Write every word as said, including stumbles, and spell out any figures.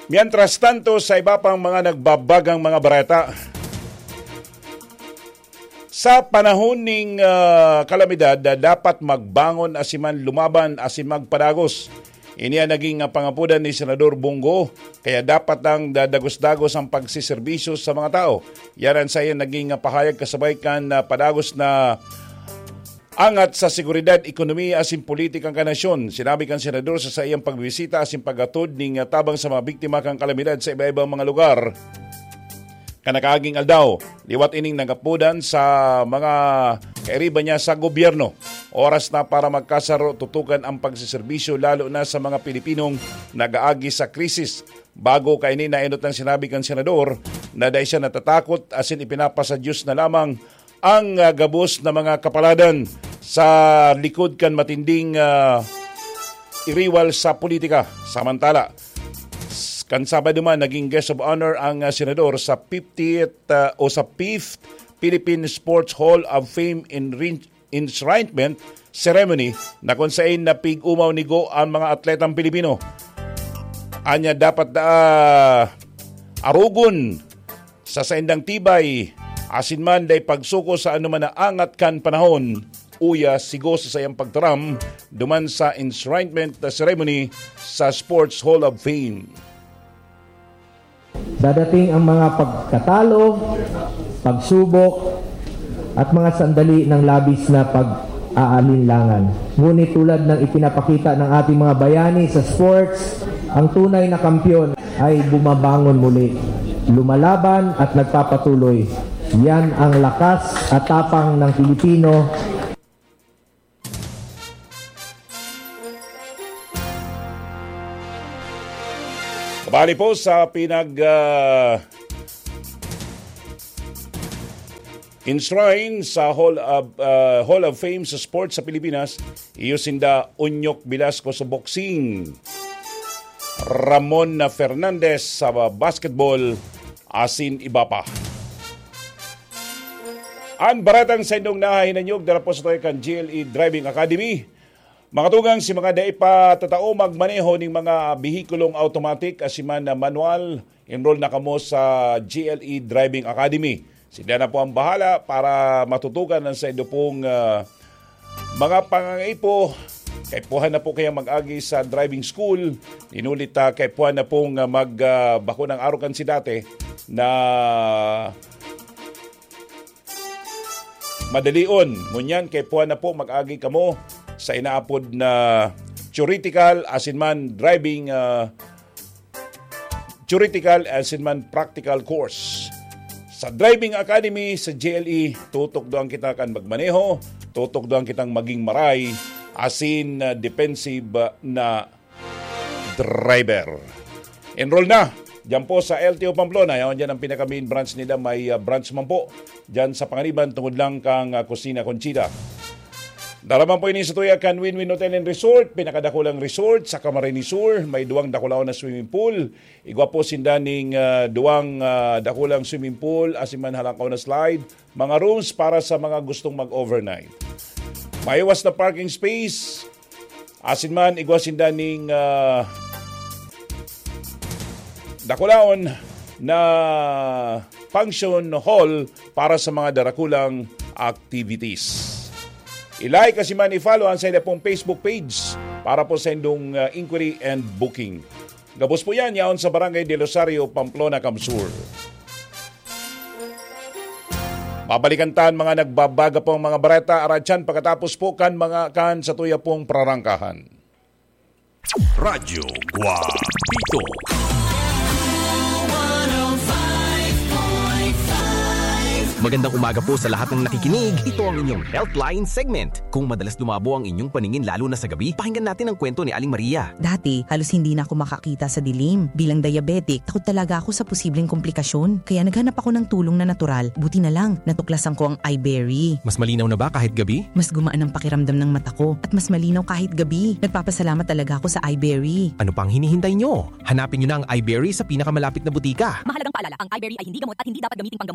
Mientras tanto, sa iba pang mga nagbabagang mga bareta, sa panahon ning, ah, kalamidad, ah, dapat magbangon asin man lumaban asin magpadagos. Ini an naging, ah, pangapodan ni Senador Bong Go, kaya dapat nang dadagos-dagos ang pagseserbisyo sa mga tao. Yan ang saiyang naging, ah, pahayag kasabay kan, ah, padagos na angat sa seguridad, ekonomiya asin politikang kanasyon. Sinabi kan senador sa saiyang pagbisita asin paghatod ning, ah, tabang sa mga biktima kan kalamidad sa iba-ibang mga lugar kan nakaaging aldaw. Liwat ining nagapodan sa mga kairiba niya sa gobyerno. Oras na para magkasaro, tutukan ang pagseserbisyo, lalo na sa mga Pilipinong nag-aagi sa krisis. Bago kaini, naenot ang sinabi kan senador na dai siya natatakot asin ipinapasa Diyos na lamang ang, ah, gabos na mga kapaladan sa likod kan matinding, ah, iriwal sa politika. Samantala, s-, kan Sabado man, naging guest of honor ang, ah, senador sa fiftieth, ah, o sa fifth Philippine Sports Hall of Fame enrin-, enshrinement ceremony na kung sain napig-umaw ni Go ang mga atletang Pilipino. Anya dapat, ah, arogon sa saindang tibay, asin man dai pagsuko sa anoman na angat kan panahon, uya sigo sa saiyang pagtaram duman sa enshrinement ceremony sa Sports Hall of Fame. Dadating ang mga pagkatalo, pagsubok, at mga sandali ng labis na pag-aalinlangan. Ngunit tulad ng ipinapakita ng ating mga bayani sa sports, ang tunay na kampiyon ay bumabangon muli, lumalaban at nagpapatuloy. Yan ang lakas at tapang ng Pilipino. Kabali po sa pinag, ah, enshrine sa Hall of, ah, Hall of Fame sa sports sa Pilipinas, iyo sinda Onyok Velasco sa boxing, Ramon na Fernandez sa basketball, asin iba pa. An baretang saindong nahahinanyog dara po sa tuya kan G L E Driving Academy. Mga tugang, si mga dai pa tatao magmaneho ning mga bihikulong automatic asin man na manual, enroll na kamo sa G L E Driving Academy. Sila na po ang bahala para matutukan ang saindo pong, ah, mga pangangaipo. Kaipuhan na po kayang mag-agi sa driving school. Inulit, ah, kaipuhan na pong, ah, mag, ah, bako ng arukan si dati na madalion. Ngunyan, kaipuhan na po mag-agi kamo sa inaapod na theoretical asin man driving, ah, theoretical asin man practical course. Sa Driving Academy sa G L E, tutukdoan kita kan magmaneho, tutukdoan kitang maging maray, asin, ah, defensive, ah, na driver. Enroll na! Diyan po sa L T O Pamplona, yaon diyan ang pinaka-main branch nila, may, ah, branch man po diyan sa Panganiban, tungod lang kang, ah, Kusina Conchita. Dara man po ini sa tuya kan Win-Win Hotel and Resort, pinakadakulang resort sa Camarines Sur, may duwang dakulaon na swimming pool, igwa po sinda ning, ah, duwang, ah, dakulang swimming pool, asin man halangkaw na slide, mga rooms para sa mga gustong mag-overnight. Maiwas na parking space, asin man igwa sinda ning, ah, dakulaon na function hall para sa mga darakulang activities. I-like asin man i-follow ang sainda pong Facebook page para po sa indong, ah, inquiry and booking. Gabos po yan, yaon sa Barangay del Rosario, Pamplona, Camsur. Babalikan tan mga nagbabaga pong mga bareta, aratyan, pagkatapos po kan mga kan sa tuya pong prarangkahan. Radyo Guapito. Magandang umaga po sa lahat ng nakikinig. Ito ang inyong Healthline segment. Kung madalas lumabo ang inyong paningin lalo na sa gabi, pakinggan natin ang kwento ni Aling Maria. Dati, halos hindi na ako makakita sa dilim. Bilang diabetic, takot talaga ako sa posibleng komplikasyon. Kaya naghanap ako ng tulong na natural. Buti na lang, natuklasan ko ang iBerry. Mas malinaw na ba kahit gabi? Mas gumaan ang pakiramdam ng mata ko at mas malinaw kahit gabi. Nagpapasalamat talaga ako sa iBerry. Ano pang hinihintay nyo? Hanapin nyo na ang iBerry sa pinakamalapit na butika. Mahalagang paalala, ang iBerry ay hindi gamot at hindi dapat gamiting panggamot.